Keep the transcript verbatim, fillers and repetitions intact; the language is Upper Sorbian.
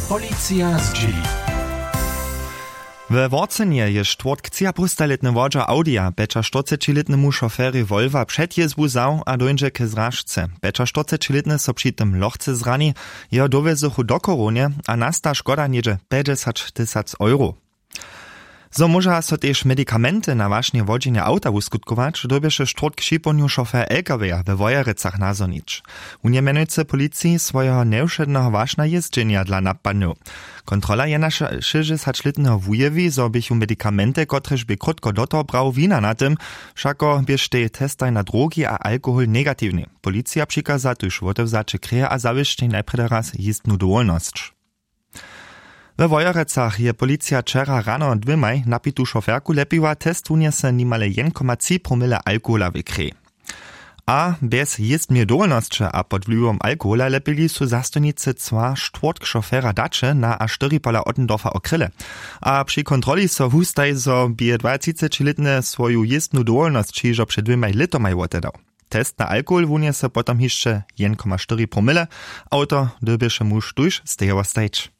Policija zdźěli. We worcenje je štwórtk třiapowstalětny wodźer audija pjećaštyrcećilětnemu šoferjej wolwa před jězbu wzał a dóńdźe k zražce. Pjećaštyrcećilětny so při tym lochce zrani. Jeho dowjezychu do chorownje a nasta škoda něhdźe pjećdźesać tysac euro. Zo móža so tež medikamenty na wašnje wodźenja awta wuskutkować, dyrbješe štwórtk připołdnju šofer lkw-ja we wojerecach nazhonić. Wón je mjenujcy policiji swojeho njewšedneho wašna jězdźenja dla napadnył. Kontrola jena šěsćdźesaćlětneho wujewi, zo běchu medikamenty kotrež bě krótko do toho brał wina na tym. Wšako běštej testaj na drogi a alkohol negatiwnej. Policija přikaza tuž wotewzaće kreje a zawěsćej najprjedy raz jězbnu dowolnosć. We wojerecach je policija wčera rano dwěmaj napitu šoferku lepiła test wunjese nimale jedn koma tři promile alkohola w krej. A bjez jězbneje dowolnosće a pod wliwom alkohola lepili su zastojnicy cła štwórtk šofera daće na a štyri pola ottendorfa okrěle. A při kontroli so wustaji zo bě dwaatřicećilětny swoju jězbnu dowolnosć hižo před dwěmaj lětomaj wotedał. Test na alkohol wunjese potom hišće jedn koma štyri promile. Awto dyrbješe muž tuž stejowo stajć.